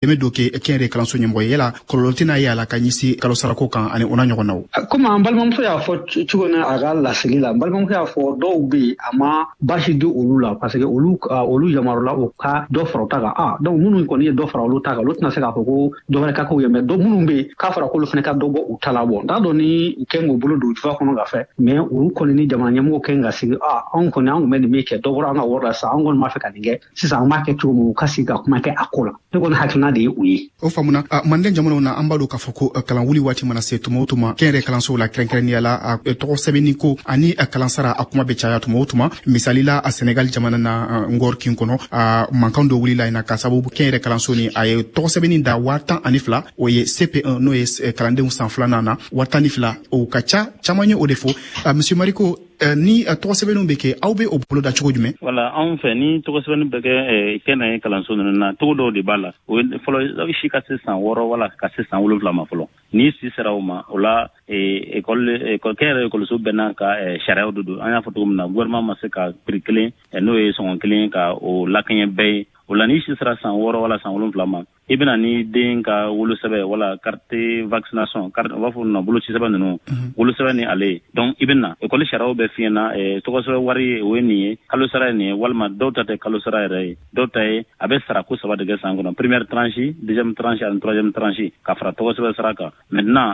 Dɛmɛ dɔ kɛ kɛnyɛrɛ kalanso ɲɛmɔgɔ ye, yala kɔlɔlɔ tɛna ye a la ka ɲɛsin kalo sarako kan ani o n'a ɲɔgɔnnaw? Komi an balimamuso y'a fɔ cogo min a ka laseli la, n balimamuso y'a fɔ dɔw bɛ yen, a ma baasi di olu la parce que olu yamarula u ka dɔ fara u ta kan. Ah, donc minnu kɔni ye dɔ fara olu ta kan, olu tɛna se k'a fɔ ko dɔ wɛrɛ ka k'u ye. Mais dɔ minnu bɛ yen k'a fɔra k'olu fana ka dɔ bɔ u ta la, bɔ n t'a dɔn ni u kɛn k'u bolo don jufa kɔnɔ ka fɛ, mais olu kɔni ni jamana ɲɛmɔgɔw kɛn ka sigi: ah, anw kɔni, an tun bɛ nin min kɛ, dɔ bɔra an ka wari la sisan, an kɔni b'a fɛ ka nin kɛ sisan, an b'a kɛ cogo min, u ka sigi ka kuma kɛ a ko la. Ne kɔni hakilina de ye o ye. O faamuna. Manden jamanaw na, an b'a dɔn k'a fɔ ko kalan wuli waati mana se tuma o tuma, kɛnyɛrɛ kalansow la, kɛrɛnkɛrɛnnenya la, tɔgɔ sɛbɛnni ko ani kalansara, a kuma bɛ caya tuma o tuma. Misali la, a Senegal jamana na, Ngor kin kɔnɔ, mankan dɔ wulila yen na ka sababu kɛnyɛrɛ kalanso ni a ye tɔgɔ sɛbɛnni da 12,000, o ye CP1, n'o ye kalandenw san filanan na, 12,000, o ka ca. Caman ye o de fɔ. Monsieur Mariko, ni tɔgɔ sɛbɛnniw bɛ kɛ, aw bɛ o bolo da cogo jumɛn? Wala anw fɛ, ni tɔgɔ sɛbɛnni bɛ kɛ kɛnɛ kalanso ninnu na, cogo dɔw de b'a la. O ye fɔlɔ, si ka se san 6 wala ka se san 7 ma fɔlɔ. N'i si sera o ma, o la école, kɛnyɛrɛ ekɔliso bɛɛ n'a ka sariyaw de don. An y'a fɔ cogo min na, gouvernement ma se ka prix kelen, n'o ye sɔngɔ kelen, ka o lakɛɲɛ bɛɛ ye. O la, n'i si sera san 6 wala san 7 ma, i bɛna ni den ka wolosɛbɛn wala carte vaccination, carte, u b'a fɔ na boloci sɛbɛn ninnu, wolosɛbɛn ni ale ye. Donc i bɛ na ekɔli sariyaw bɛ f'i ɲɛna, tɔgɔ sɛbɛn wari ye, o ye nin ye, kalo sara ye nin ye, walima dɔw ta tɛ kalo sara yɛrɛ ye, dɔw ta ye a bɛ sara ko saba de kɛ san kɔnɔ: première tranche, deuxième tranche ani troisième tranche, ka fara tɔgɔ sɛbɛn sara kan. Maintenant,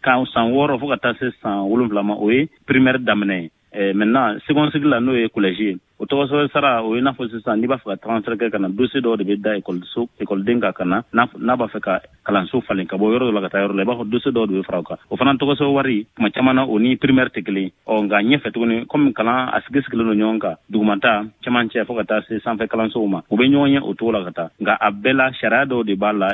kan san 6 fo ka taa se san 7 ma, o ye primaire daminɛ ye. Maintenant, second cycle la, n'o ye collège ye, o tɔgɔ sɛbɛn sara, o ye n'a fɔ sisan n'i b'a fɛ ka transfert kɛ ka na, dossier dɔw de bɛ da ekɔliso ekɔliden kan ka na, n'a b'a fɛ ka kalanso falen ka bɔ yɔrɔ dɔ la ka taa yɔrɔ la, i b'a fɔ dossier dɔw de bɛ fara o kan. O fana tɔgɔ sɛbɛn wari, tuma caman na, o ni primaire tɛ kelen. Ɔ nka ɲɛfɛ tuguni, komi kalan a sigi sigilen don ɲɔgɔn kan, dugumata, cɛmancɛ, fo ka taa se sanfɛ kalansow ma, u bɛ ɲɔgɔn ye o cogo la ka taa. Nka a bɛɛ la, sariya dɔw de b'a la.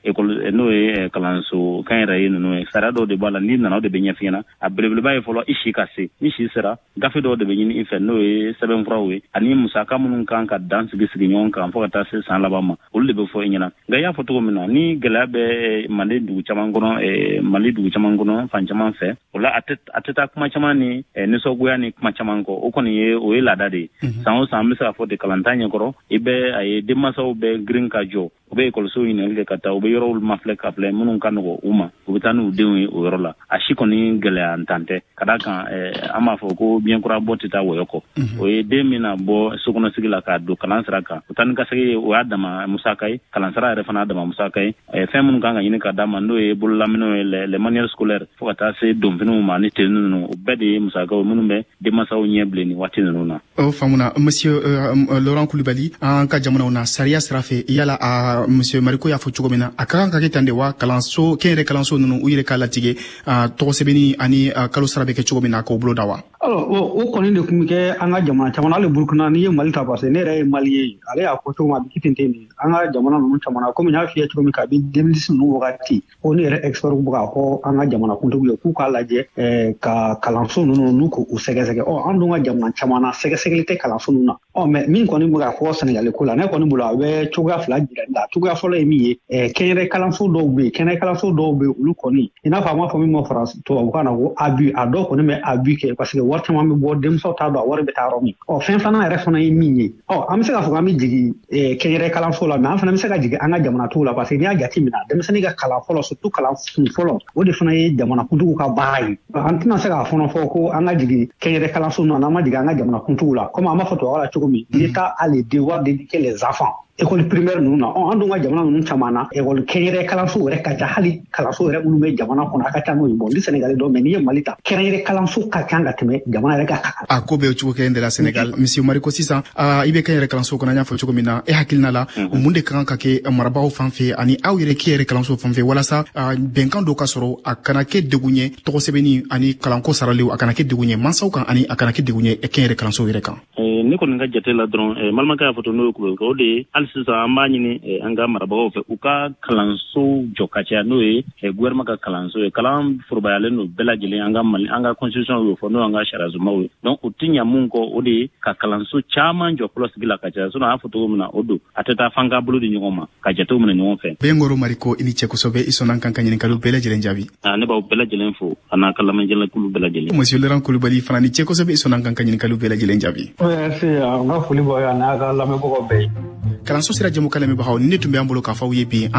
Ekɔli, n'o ye kalanso kɛnyɛrɛye ninnu ye, sariya dɔw de b'a la. N'i nana, o de bɛ ɲɛf'i ɲɛna. A belebeleba ye fɔlɔ, i si ka se. Ni si sera, gafe dɔw de bɛ ɲini i fɛ, n'o ye sɛbɛnfuraw ye, ani musaka minnu kan ka dan sigi sigi ɲɔgɔn kan fo ka taa se san laban ma, olu de bɛ fɔ i ɲɛna. Nka i y'a fɔ cogo min na, ni gɛlɛya bɛ Manden dugu caman kɔnɔ, Mali dugu caman kɔnɔ, fan caman fɛ, o la a tɛ taa kuma caman ni nisɔngoya ni kuma caman kɔ. O kɔni ye, o ye laada de ye. San o san, an bɛ se k'a fɔ de, kalantan ɲɛkɔrɔ, i bɛ a ye denmansaw bɛ girin ka jɔ, u bɛ ekɔlisow ɲininkali kɛ ka taa, u bɛ yɔrɔw mafilɛ ka filɛ minnu ka nɔgɔ u ma, u bɛ taa n'u denw ye o yɔrɔ la. A si kɔni gɛlɛya ntan tɛ, ka d'a kan an b'a fɔ ko biɲɛ kura bɔ tɛ taa wɔyɔ kɔ. O ye den min na bɔ sokɔnɔsigi la k'a don kalan sira kan, o taa ni ka segin ye, o y'a dama musaka ye. Kalansara yɛrɛ fana y'a dama musaka ye. Fɛn minnu kan ka ɲini ka d'a ma, n'o ye bololaminɛw ye, les manuels scolaires, fo ka taa se donfiniw ma ni tenue ninnu, o bɛɛ de ye musakaw minnu bɛ denmansaw ɲɛ bilen nin waati ninnu na. O faamuna. Monsieur Laurent Coulibaly, an ka jamanaw na, sariya sira fɛ, yala a monsieur Mariko y'a fɔ cogo min na, a ka kan ka kɛ tan de wa? Kalanso, kɛnyɛrɛ kalanso ninnu, u yɛrɛ k'a latigɛ tɔgɔ sɛbɛnni ani kalo sara bɛ kɛ cogo min na, k'o bolo da wa? Alors, o kɔni de tun bɛ kɛ an ka jamana caman, hali Burukina. N'i ye Mali ta, parce que ne yɛrɛ ye Mali ye, ale y'a fɔ cogo min, a bɛ kɛ ten ten de an ka jamana ninnu caman na. Komi n y'a f'i ye cogo min, kabi 2010 ninnu wagati ko ne yɛrɛ expert bɛ k'a fɔ an ka jamana kuntigiw ye k'u k'a lajɛ ka kalanso ninnu n'u k'u sɛgɛsɛgɛ. Ɔ an dun ka jamana caman na, sɛgɛsɛgɛli tɛ kalanso ninnu na. Ɔ mais min kɔni bɛ ka fɔ Sɛnɛgali ko la, ne kɔni bolo, a bɛ cogoya fila jira la. Cogoya fɔlɔ ye min ye, kɛnyɛrɛ kalanso dɔw bɛ yen, kɛnɛ kalanso dɔw bɛ yen, olu kɔni, i n'a fɔ an b'a fɔ min ma faransi tubabukan na ko abus, a dɔw kɔni bɛ abus kɛ parce que wari caman bɛ bɔ, denmisɛnw t'a dɔn a wari bɛ taa yɔrɔ min. Ɔ fɛn filanan yɛrɛ fana ye min ye, ɔ an bɛ se k'a fɔ k'an bɛ jigin kɛnyɛrɛ kalanso la, mais an fana bɛ se ka jigin an ka jamana t'o la, parce que n'i y'a jateminɛ, denmisɛnnin ka kalan fɔlɔ, surtout kalan kun fɔlɔ, o de fana ye jamana kuntigiw ka baara ye. An tɛna se k'a fɔnɔ fɔ ko an ka jigin kɛnyɛrɛ kalanso ninnu na, n'an ma jigin an ka jamana kuntigiw la. Komi an b'a fɔ tubabu la cogo min, l'État a le devoir d'éduquer les enfants, école primaire ninnu na. Ɔ an dun ka jamana ninnu caman na, école kɛnyɛrɛ kalanso yɛrɛ ka ca, hali kalanso yɛrɛ minnu bɛ jamana kɔnɔ, a ka ca n'o ye. Bon, ni Sénégal dɔn, mais n'i ye Mali ta, kɛnyɛrɛ kalanso ka ca ka tɛmɛ jamana yɛrɛ ka kan. A ko bɛ cogo kelen de la Sénégal. Monsieur Mariko, sisan i bɛ kɛnyɛrɛ kalanso kɔnɔ, an y'a fɔ cogo min na, e hakilina la, mun de ka kan ka kɛ marabagaw fan fɛ ani aw yɛrɛ kɛnyɛrɛ kalanso fan fɛ, walasa bɛnkan dɔ ka sɔrɔ, a kana kɛ degun ye, tɔgɔ sɛbɛnni ani kalanko saraliw, a kana kɛ degun ye mansaw kan ani a kana kɛ degun ye kɛnyɛrɛ kalanso yɛrɛ kan? Ne kɔni ka jate la dɔrɔn, balimakɛ y'a fɔ to, n'o ye kulubali, o de ye hali sisan an b'a ɲini an ka marabagaw fɛ, u ka kalanso jɔ ka caya, n'o ye gouvernement ka kalanso ye. Kalan forobayalen don bɛɛ lajɛlen, an ka Mali, an ka constitution y'o fɔ, n'o y'an ka sariyasunbaw ye. Donc u ti ɲa mun kɔ, o de ye ka kalanso caman jɔ fɔlɔ sigi la ka caya. Sinon, a y'a fɔ cogo min na, o don a tɛ taa f'an ka bolo di ɲɔgɔn ma ka jatew minɛ ɲɔgɔn fɛ. Bɛnkɔrɔ Mariko, i ni cɛ kosɛbɛ, i sɔnna kan ka ɲininkaliw bɛɛ lajɛlen jaabi. Ne b'aw bɛɛ lajɛlen fo a n'a ka lamɛnjɛlɛkulu bɛɛ lajɛlen. Monsieur Laurent Coulibaly fana ni cɛ kosɛbɛ, i sɔnna kan ka ɲininkaliw bɛɛ lajɛlen jaabi. Merci, n ka foli b'aw ye a n'a ka lamɛnbagaw bɛɛ ye. Kalanso Kalanso sira jɛmukan lamɛnbagaw, ni ne tun bɛ an bolo k'a fɔ aw ye bi, an